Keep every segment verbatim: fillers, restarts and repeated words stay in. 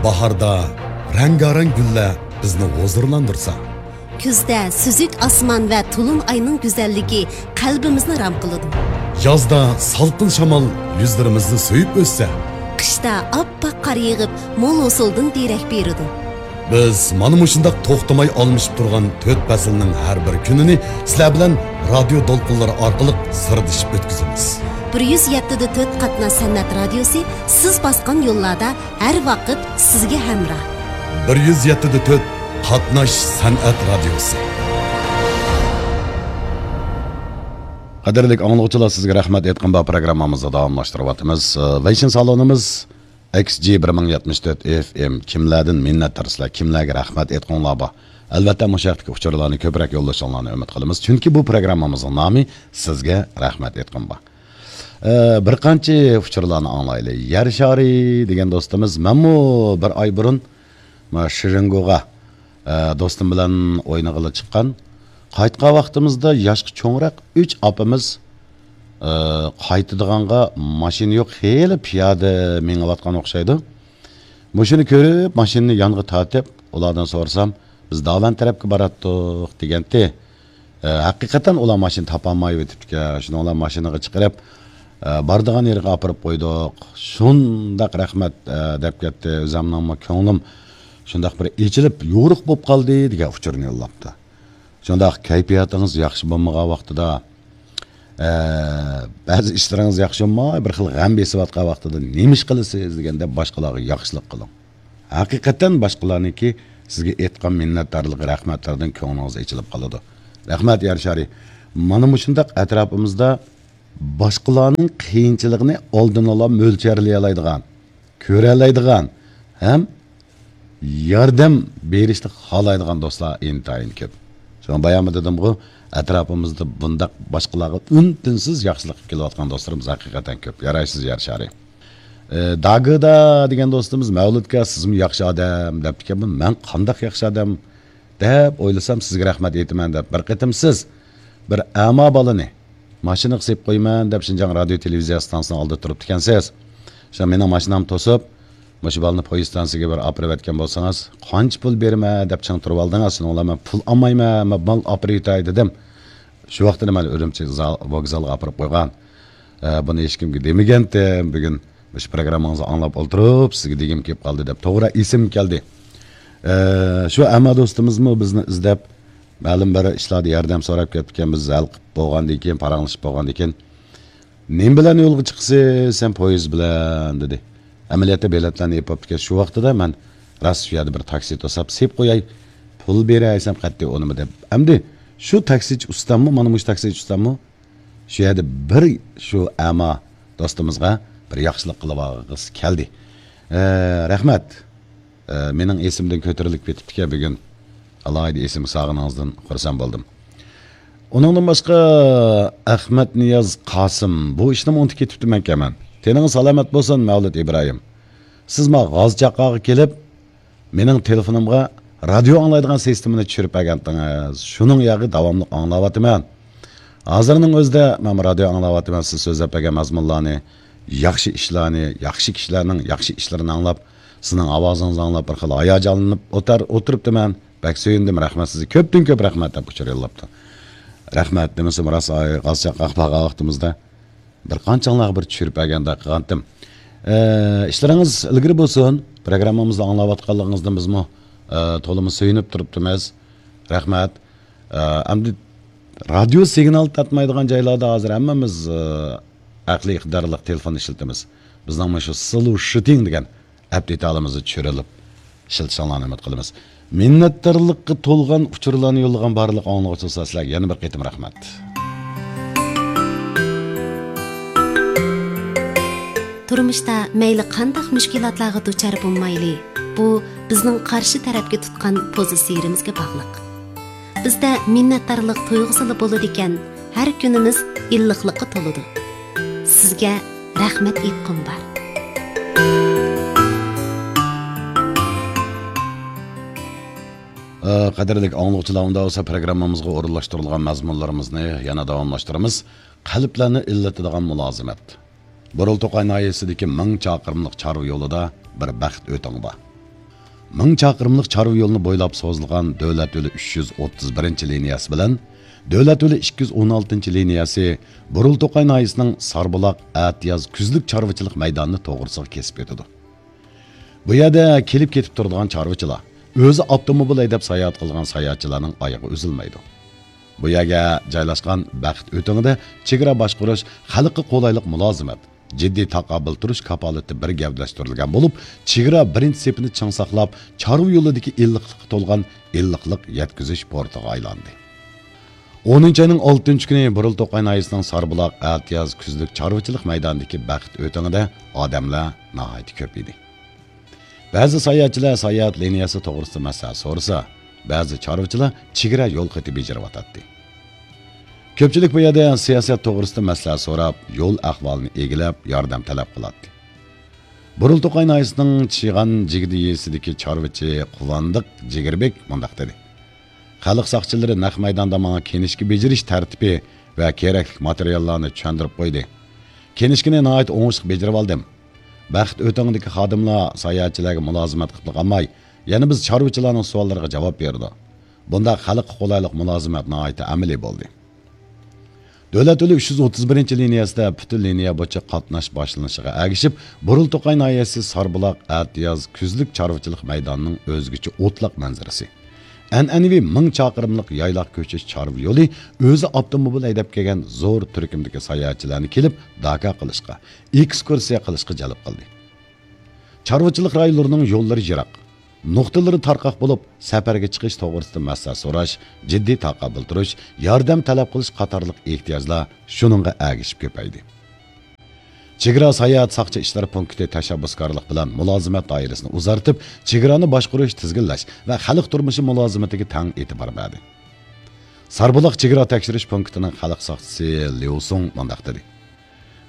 باھاردا رەڭگارەڭ گۈللەر بىزنى ھۇزۇرلاندۇرسا، كۈزدە سۈزۈك ئاسمان ۋە تولۇن ئاينىڭ گۈزەللىكى قەلبىمىزنى رام قىلىدۇ. يازدا سالقىن شامال يۈزلىرىمىزنى سۆيۈپ ئۆتسە، قىشتا ئاپئاق قار يېغىپ، مول ھوسۇلدىن دېرەك بېرىدۇ. بىز مانا مۇشۇنداق توختىماي ئالمىشىپ تۇرغان تۆت پەسىلنىڭ ھەر بىر كۈنىنى سىلەر بىلەن رادىيو دولقۇنلىرى ئارقىلىق سىردىشىپ ئۆتكۈزىمىز. بىر يۈز يەتتە دە تۆت قاتناش سەنئەت رادىيوسى سىز باسقان يوللاردا ھەر ۋاقىت سىزگە ھەمراھ. بىر يۈز يەتتە دە تۆت قاتناش سەنئەت رادىيوسى. قەدىرلىك ئاڭلىغۇچىلار، سىزگە رەھمەت ئېيتقىن بار پروگراممىمىزنى داۋاملاشتۇرۇۋاتىمىز. ئى، ۋېيشىن سالونىمىز ئېكس جى بىر مىڭ يەتمىش تۆت ئېف ئېم. كىملەردىن مىننەتدار سىلەر، كىملەرگە رەھمەت ئېيتقۇڭلار بار؟ ئەلۋەتتە، مۇشۇ ھەقتىكى ئۇچۇرلارنى كۆپرەك يوللىشىڭلارنى ئۈمىد قىلىمىز. چۈنكى بۇ پروگراممىمىزنىڭ نامى سىزگە رەھمەت ئېيتقىن بار. ئە، بىر قانچە ئۇچۇرلارنى ئاڭلايلى. يەر شارى دېگەن دوستىمىز، مەنمۇ بىر ئاي بۇرۇن مانا شىرىنگوغا، ئە، دوستۇم بىلەن ئوينىغىلى چىققان. قايتقان ۋاقتىمىزدا ياشقا چوڭراق ئۈچ ئاپىمىز، ئە، قايتىدىغانغا ماشىنا يوق، خېلى پىيادە مېڭىۋاتقان ئوخشايدۇ. مۇشۇنى كۆرۈپ، ماشىنىنى يانغا تارتىپ، ئۇلاردىن سورىسام، «بىز داۋەن تەرەپكە باراتتۇق» دېگەنتى. ئە، ھەقىقەتەن ئۇلار ماشىنا تاپالمايۋېتىپتىكەن. شۇنىڭ بىلەن ماشىنىغا چىقىرىپ، ئە، بارىدىغان يېرىگە ئاپىرىپ قويدۇق. شۇنداق رەھمەت، ئە، دەپ كەتتى. ئۆزەمنىڭمۇ كۆڭلۈم شۇنداق بىر ئېچىلىپ، يورۇق بولۇپ قالدى دېگەن ئۇچۇرنى يوللاپتۇ. شۇنداق كەيپىياتىڭىز ياخشى بولمىغان ۋاقتىدا، ئە، بەزى ئىشلىرىڭىز ياخشى بولماي، بىر خىل غەم بېسىۋاتقان ۋاقتىدا نېمە ئىش قىلىسىز دېگەندە، باشقىلارغا ياخشىلىق قىلىڭ. ھەقىقەتەن باشقىلارنىڭكى سىزگە ئېيتقان مىننەتدارلىق، رەھمەتلىرىدىن كۆڭلىڭىز ئېچىلىپ قالىدۇ. رەھمەت، يەر شارى. مانا مۇشۇنداق ئەتراپىمىزدا باشقىلارنىڭ قىيىنچىلىقىنى ئالدىنلا مۆلچەرلىيەلەيدىغان، كۆرەلەيدىغان ھەم ياردەم بېرىشنى خالايدىغان دوستلار ئىنتايىن كۆپ. شۇڭا باياممۇ دېدىمغۇ، ئەتراپىمىزدا بۇنداق باشقىلارغا ئۈن-تىنسىز ياخشىلىق قىلىپ كېلىۋاتقان دوستلىرىمىز ھەقىقەتەن كۆپ. يارايسىز، يەر شارى. ئى، داگىدا دېگەن دوستىمىز، «مەۋلۇتكا، سىزمۇ ياخشى ئادەم» دەپتىكەن. مەن قانداق ياخشى ئادەم دەپ ئويلىسام، سىزگە رەھمەت ئېيتىمەن دەپ، بىر قېتىم سىز بىر ئەما بالىنى ماشىنىغا سېلىپ قويىمەن دەپ شىنجاڭ رادىيو تېلېۋىزىيە ئىستانسىسىنىڭ ئالدىدا تۇرۇپتىكەنسىز. شۇڭا مېنىڭ ماشىنامنى توسۇپ، مۇشۇ بالىنى پويىز ئىستانسىسىگە بىر ئاپىرىۋەتكەن بولسىڭىز، قانچە پۇل بېرىمەن دەپ چىڭ تۇرۇۋالدىڭىز. شۇنىڭ بىلەن مەن پۇل ئالمايمەن، مەن مال ئاپىرىۋېتەي دېدىم. شۇ ۋاقىتتا مانا ئۈرۈمچى زال-، ۋوگزالغا ئاپىرىپ قويغان. ئە، بۇنى ھېچكىمگە دېمىگەنتىم. بۈگۈن مۇشۇ پروگراممىڭىزنى ئاڭلاپ ئولتۇرۇپ، سىزگە دېگۈم كېلىپ قالدى دەپ توغرا ئېسىمگە كەلدى. ئە، شۇ ئەما دوستىمىزمۇ بىزنى ئىزدەپ، مەلۇم بىر ئىشلاردا ياردەم سوراپ كەپتىكەن. بىز ھەل قىلىپ بولغاندىن كېيىن، پاراڭلىشىپ بولغاندىن كېيىن، «نېمە بىلەن يولغا چىقىسىز سەن؟» «پويىز بىلەن» دېدى. ئەمەلىيەتتە بېلەتلەرنى ئېلىپ بوپتىكەن. شۇ ۋاقتىدا مەن راست شۇ يەردە بىر تاكسى توساپ سېلىپ قوياي، پۇل بېرەي دېسەم قەتئىي ئۇنىمىدى. ئەمدى شۇ تاكسىچى ئۇستاممۇ، مانا مۇشۇ تاكسىچى ئۇستاممۇ شۇ يەردە بىر شۇ ئەما دوستىمىزغا بىر ياخشىلىق قىلىۋالغۇسى كەلدى. ئە، رەھمەت. ئە، مېنىڭ ئېسىمدىن كۆتۈرۈلۈپ كېتىپتىكەن بۈگۈن. ئالاھىدە ئېسىمگە سالغىنىڭىزدىن خۇرسەن بولدۇم. ئۇنىڭدىن باشقا ئەخمەت نىياز قاسىم، بۇ ئىشنىمۇ ئۇنتۇپ كېتىپتىمەنكەن مەن. تېنىڭىز سالامەت بولسۇن، مەۋلۇت ئىبراھىم. سىز ما غاز چاققاغا كېلىپ، مېنىڭ تېلېفونۇمغا رادىيو ئاڭلايدىغان سىستېمىنى چۈشۈرۈپ بەرگەنتىڭىز. شۇنىڭ ياغى داۋاملىق ئاڭلاۋاتىمەن. ھازىرنىڭ ئۆزىدە مەنمۇ رادىيو ئاڭلاۋاتىمەن، سىز سۆزلەپ بەرگەن مەزمۇنلارنى، ياخشى ئىشلارنى، ياخشى كىشىلەرنىڭ ياخشى ئىشلىرىنى ئاڭلاپ، سىزنىڭ ئاۋازىڭىزنى ئاڭلاپ بىر خىل ھاياجانلىنىپ ئوتار-، ئولتۇرۇپتىمەن. بەك سۆيۈندۈم، رەھمەت سىزگە. كۆپتىن كۆپ رەھمەت دەپ ئۇچۇر يوللاپتۇ. رەھمەت دېمىسىمۇ راست، ئاي، غاز چاققاق بارغان ۋاقتىمىزدا بىر قانچىڭلارغا بىر چۈشۈرۈپ بەرگەندەك قىلغانتىم. ئە، ئىشلىرىڭىز ئىلگىرى بولسۇن. پروگراممىمىزنى ئاڭلاۋاتقانلىقىڭىزدىن بىزمۇ، ئە، تولىمۇ سۆيۈنۈپ تۇرۇپتىمىز. رەھمەت. ئە، ئەمدى رادىيو سىگنال تارتمايدىغان جايلاردا ھازىر ھەممىمىز، ئە، ئەقلىي ئىقتىدارلىق تېلېفون ئىشلىتىمىز. بىزنىڭ مۇشۇ سلۇشىتىڭ دېگەن ئەپ دېتالىمىزنى چۈشۈرۈلۈپ ئىشلىتىشىڭلارنى ئۈمىد قىلىمىز. مىننەتدارلىققا تولغان ئۇچۇرلارنى يوللىغان بارلىق ئاڭلىغۇچىلار، سىلەرگە يەنە بىر قېتىم رەھمەت. تۇرمۇشتا مەيلى قانداق مۈشكۈلاتلارغا دۇچار بولمايلى، بۇ بىزنىڭ قارشى تەرەپكە تۇتقان پوزىتسىيىمىزگە باغلىق. بىزدە مىننەتدارلىق تۇيغۇسىلا بولىدىكەن، ھەر كۈنىمىز ئىللىقلىققا تولىدۇ. سىزگە رەھمەت ئېيتقۇم بار. ئە، قەدىرلىك ئاڭلىغۇچىلار، ئۇنداق بولسا پروگراممىمىزغا ئورۇنلاشتۇرۇلغان مەزمۇنلىرىمىزنى يەنە داۋاملاشتۇرىمىز. قەلبلەرنى ئىللىتىدىغان مۇلازىمەت. بۇرۇلتۇقاي ناھىيەسىدىكى مىڭ چاقىرىملىق چارۋا يولىدا بىر بەخت ئۆتۈڭى بار. مىڭ چاقىرىملىق چارۋا يولىنى بويلاپ سوزۇلغان دۆلەت يولى ئۈچ يۈز ئوتتۇز بىرىنچى لىنىيەسى بىلەن دۆلەت يولى ئىككى يۈز ئون ئالتىنچى لىنىيەسى بۇرۇلتوقاي ناھىيەسىنىڭ ساربۇلاق، ئەتىياز، كۈزلۈك چارۋىچىلىق مەيدانىنى توغرىسىغا كېسىپ ئۆتىدۇ. بۇ يەردە كېلىپ كېتىپ تۇرىدىغان چارۋىچىلار، ئۆزى ئاپتوموبىل ھەيدەپ ساياھەت قىلىدىغان ساياھەتچىلەرنىڭ ئايىغى ئۈزۈلمەيدۇ. بۇ يەرگە جايلاشقان بەخت ئۆتۈڭىدە چېگرا باشقۇرۇش، خەلققە قولايلىق مۇلازىمەت، جىددىي تاقابىل تۇرۇش كاپالىتى بىر گەۋدىلەشتۈرۈلگەن بولۇپ، چېگرا بىرىنچى سېپىنى چىڭ ساقلاپ، چارۋا يولىدىكى ئىللىقلىققا تولغان ئىللىقلىق يەتكۈزۈش پورتىغا ئايلاندى. ئونىنچى ئاينىڭ ئالتىنچى كۈنى بۇرۇلتوقاي ناھىيەسىنىڭ ساربۇلاق، ئەتىياز، كۈزلۈك چارۋىچىلىق مەيدانىدىكى بەخت ئۆتىڭىدە ئادەملەر ناھايىتى كۆپ ئىدى. بەزى ساياھەتچىلەر ساياھەت لىنىيەسى توغرىسىدا مەسلىھەت سورىسا، بەزى چارۋىچىلار چېگرا يول خېتى بېجىرىۋاتاتتى. كۆپچىلىك بۇ يەردە سىياسەت توغرىسىدا مەسلىھەت سوراپ، يول ئەھۋالىنى ئىگىلەپ، ياردەم تەلەپ قىلاتتى. بۇرۇلتوقاي ناھىيەسىنىڭ چىغان جىگدە يېزىسىدىكى چارۋىچى قۇۋاندۇق جىگىربېك مۇنداق دېدى: خەلق ساقچىلىرى نەق مەيداندا ماڭا كىنىشكا بېجىرىش تەرتىپى ۋە كېرەكلىك ماتېرىياللارنى چۈشەندۈرۈپ قويدى. كىنىشكىنى ناھايىتى ئوڭۇشلۇق بېجىرىۋالدىم. بەخت ئۆتىڭىدىكى خادىملار ساياھەتچىلەرگە مۇلازىمەت قىلىپلا قالماي، يەنە بىز چارۋىچىلارنىڭ سوئاللىرىغا جاۋاب بېرىدۇ. بۇنداق خەلققە قولايلىق مۇلازىمەت ناھايىتى ئەمەلىي بولدى. دۆلەت يولى ئۈچ يۈز ئوتتۇز بىرىنچى لىنىيەسىدە پۈتۈن لىنىيە بويىچە قاتناش باشلىنىشىغا ئەگىشىپ، بۇرۇلتوقاي ناھىيەسى ساربۇلاق، ئەتىياز، كۈزلۈك چارۋىچىلىق مەيدانىنىڭ ئۆزگىچە ئوتلاق مەنزىرىسى، ئەنئەنىۋى مىڭ چاقىرىملىق يايلاق كۆچۈش چارۋا يولى ئۆزى ئاپتوموبىل ھەيدەپ كەلگەن زور تۈركۈمدىكى ساياھەتچىلەرنى كېلىپ داكا قىلىشقا، ئېكسكۇرسىيە قىلىشقا جەلپ قىلدى. چارۋىچىلىق رايونلىرىنىڭ يوللىرى يىراق، نۇقتىلىرى تارقاق بولۇپ، سەپەرگە چىقىش توغرىسىدا مەسلىھەت سوراش، جىددىي تاقابىل تۇرۇش، ياردەم تەلەپ قىلىش قاتارلىق ئېھتىياجلار شۇنىڭغا ئەگىشىپ كۆپەيدى. چېگرا ساياھەت ساقچى ئىشلىرى پونكىتى تەشەببۇسكارلىق بىلەن مۇلازىمەت دائىرىسىنى ئۇزارتىپ، چېگرانى باشقۇرۇش، تىزگىنلەش ۋە خەلق تۇرمۇشى مۇلازىمىتىگە تەڭ ئېتىبار بەردى. ساربۇلاق چېگرا تەكشۈرۈش پونكىتىنىڭ خەلق ساقچىسى ليۇ سۇڭ مۇنداق دېدى: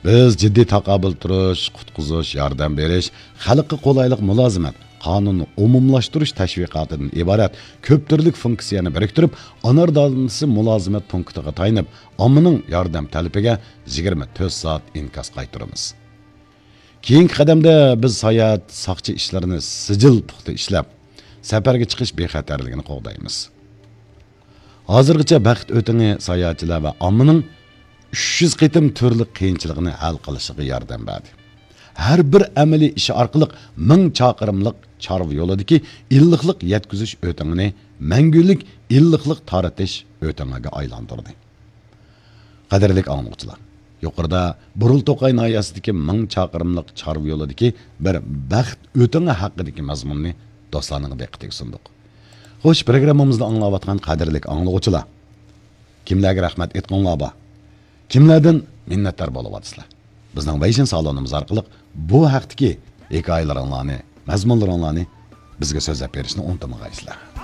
بىز جىددىي تاقابىل تۇرۇش، قۇتقۇزۇش، ياردەم بېرىش، خەلققە قولايلىق مۇلازىمەت، قانۇننى ئومۇملاشتۇرۇش تەشۋىقاتىدىن ئىبارەت كۆپ تۈرلۈك فۇنكسىيەنى بىرىكتۈرۈپ، ئانار دانىسى مۇلازىمەت پونكىتىغا تايىنىپ، ئاممىنىڭ ياردەم تەلىپىگە يىگىرمە تۆت سائەت ئىنكاس قايتۇرىمىز. كېيىنكى قەدەمدە بىز ساياھەت ساقچى ئىشلىرىنى سىجىل پۇختا ئىشلەپ، سەپەرگە چىقىش بىخەتەرلىكىنى قوغدايمىز. ھازىرغىچە بەخت ئۆتىڭى ساياھەتچىلەر ۋە ئاممىنىڭ ئۈچ يۈز قېتىم تۈرلۈك قىيىنچىلىقىنى ھەل قىلىشىغا ياردەم بەردى. ھەر بىر ئەمەلىي ئىش ئارقىلىق مىڭ چاقىرىملىق چارۋا يولىدىكى ئىللىقلىق يەتكۈزۈش ئۆتىڭىنى مەڭگۈلۈك ئىللىقلىق تارىتىش ئۆتىڭىگە ئايلاندۇردى. قەدىرلىك ئاڭلىغۇچىلار، يۇقىرىدا بۇرۇلتوقاي ناھىيەسىدىكى مىڭ چاقىرىملىق چارۋا يولىدىكى بىر بەخت ئۆتىڭى ھەققىدىكى مەزمۇننى دوستلارنىڭ دىققىتىگە سۇندۇق. خوش، پروگراممىمىزنى ئاڭلاۋاتقان قەدىرلىك ئاڭلىغۇچىلار، كىملەرگە رەھمەت ئېيتقۇڭلار بار؟ كىملەردىن مىننەتدار بولۇۋاتىسىلەر؟ بىزنىڭ ۋەيشىن سالونىمىز ئارقىلىق بۇ ھەقتىكى ھېكايىلىرىڭلارنى، مەزمۇنلىرىڭلارنى بىزگە سۆزلەپ بېرىشنى ئۇنتۇمىغايسىلەر.